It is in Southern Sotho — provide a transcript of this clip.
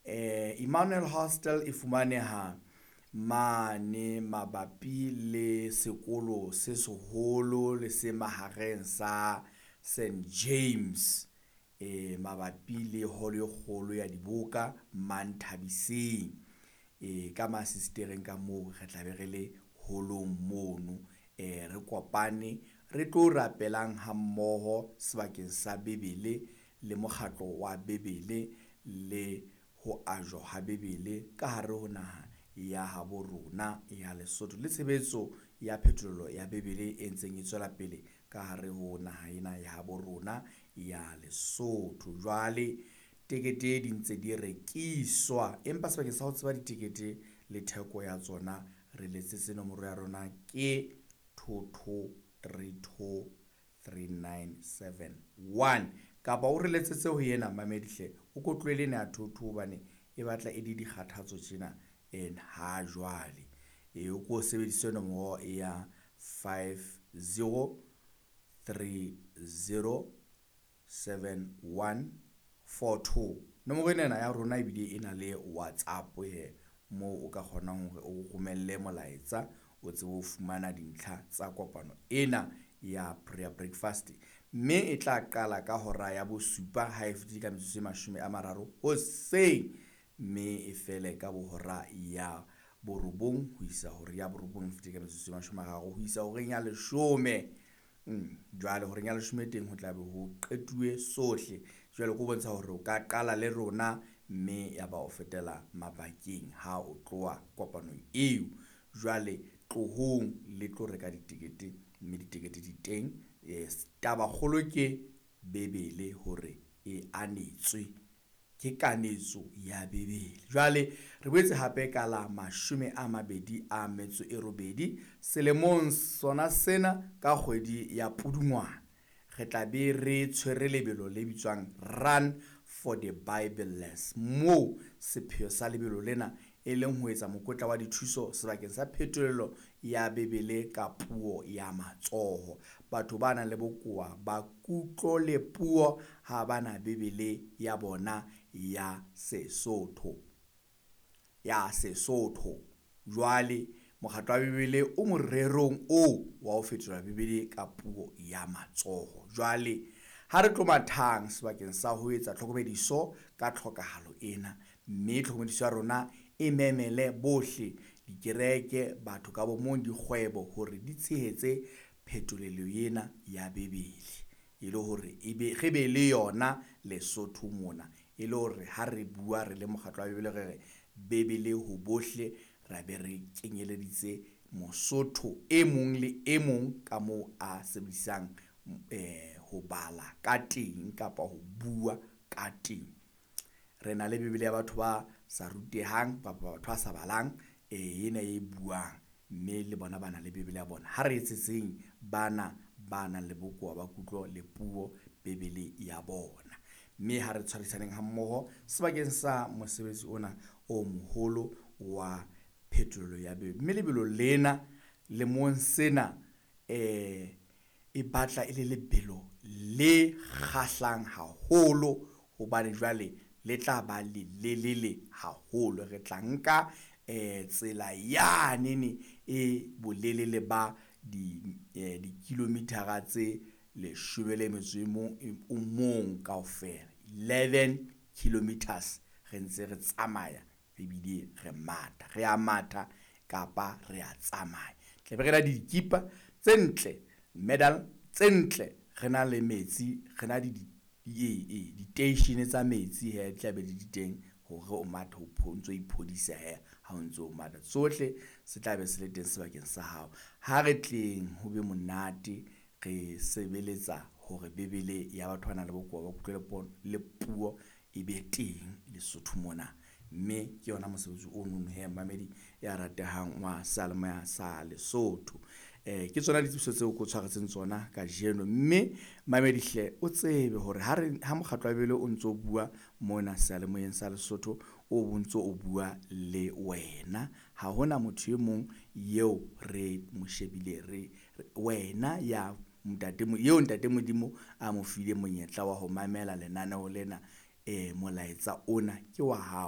Emmanuel Hostel e fumaneha mane mabapi le sekolo se seholo le se mahareng sa St James, mabapi le holo e kgolo ya diboka Manthabiseng. Ka masistereng ka moo re tla be re le holong mono, re kopane re tlo rapelang ha mmoho sebakeng sa Bebele le mokgatlo wa Bebele le ho ajwa ha Bebele ka hare ho naha ya habo rona ya Lesotho, le tshebetso ya phetolelo ya Bebele e ntseng e tswela pele ka hare ho naha ena ya habo rona ya Lesotho. Jwale tekete di ntse di rekiswa, empa sebakeng sa ho tseba ditekete le theko ya tsona, re letsetse nomoro ya rona ke 22323971, kapa o re letsetse ho yena mamedi hle, o ko tlohele ena ya 22 hobane e batla e le dikgathatso tjena ha jwale. O ko sebedise nomoro ya 50307142. Nomoro ena ya rona ebile e na le WhatsApp he, moo o ka kgonang hore o romelle molaetsa o tsebe ho fumana dintlha tsa kopano ena ya prayer breakfast, mme e tla qala ka hora ya bosupa ha e fetile ka metsotso e 30 hoseng, mme e fele ka bohora ya borobong ho isa hore ya borobong e fetile ka metsotso e 30 ho isa horeng ya 10. Jwale horeng ya 10 teng ho tla be ho qetuwe sohle. Jwale ko bontsha hore o ka qala le rona mme ya ba o fetela mabakeng ha o tloha kopanong eo. Jwale tlohong le tlo reka ditekete, mme ditekete di teng. Taba kgolo ke Bebele hore e anetswe, ke kanetso ya Bebele. Jwale re boetse hape ka la 28 selemong sona sena ka kgwedi ya Pudungwana, re tla be re tshwere lebelo le bitswang Run for the Bibleless, moo sepheo sa lebelo lena e leng ho etsa mokotla wa dithuso sebakeng sa phetolelo ya Bebele ka puo ya matsoho. Batho ba nang le bokowa ba kutlo le puo ha bana Bebele ya bona ya Sesotho, ya Sesotho. Jwale mokgatlo wa Bebele o morerong oo wa ho fetola Bebele ka puo ya matsoho. Jwale ha re tlo mathang sebakeng sa ho etsa tlhokomediso ka tlhokahalo ena, mme tlhokomediso ya rona e memele bohle, dikereke, batho ka bomong, dikgwebo, hore di tshehetse phetolelo ena ya Bebele, e le hore ebe re be le yona Lesotho mona, e le hore ha re bua re le mokgatlo wa Bebele re re Bebele ho bohle, ra be re kenyeleditse Mosotho e mong le e mong ka moo a sebedisang ho bala ka teng kapa ho bua ka teng. Re na le Bebele ya batho ba sa rutehang kapa batho ba sa balang, ena e buang, mme le bona ba na le Bebele ya bona. Ha re etsetseng bana ba nang le bokowa ba kutlo le puo Bebele ya bona, mme ha re tshwarisaneng ha mmoho sebakeng sa mosebetsi ona o moholo wa phetolelo ya Bebele. Mme lebelo lena lemong sena e batla e le lebelo le kgahlang haholo, hobane jwale le tla ba le lelele haholo. Re tla nka tsela yanene e bolelele ba di-kilometer-a tse 11 kaofela, 11 kilometers, re ntse re tsamaya ebile re matha, re a matha kapa re a tsamaya. Tlabe re na le dikipa tse ntle, medal tse ntle, re na le metsi, re na le diteishene tsa metsi he di tla be di di teng hore o mathe o ntso iphodisa he ha o ntso matha. Sohle se tla be se le teng sebakeng sa hao. Ha re tleng ho be monate, re sebeletsa hore Bebele ya batho ba nang le bokowa ba kutlwe le puo e be teng Lesotho mona, mme ke yona mosebetsi o nono he mamedi ya ratehang wa seyalemoya sa Lesotho. Ke tsona ditsebiso tseo ke o tshwaretseng tsona kajeno, mme mamedi hle o tsebe hore ha re ha mokgatlo wa Bebele o ntso bua mona seyalemoyeng sa Lesotho, o bontso o bua le wena. Ha hona motho e mong eo re mo shebile, re wena ya ntate eo ntate Modimo a mo file monyetla wa ho mamela lenaneo lena. Molaetsa ona ke wa hao.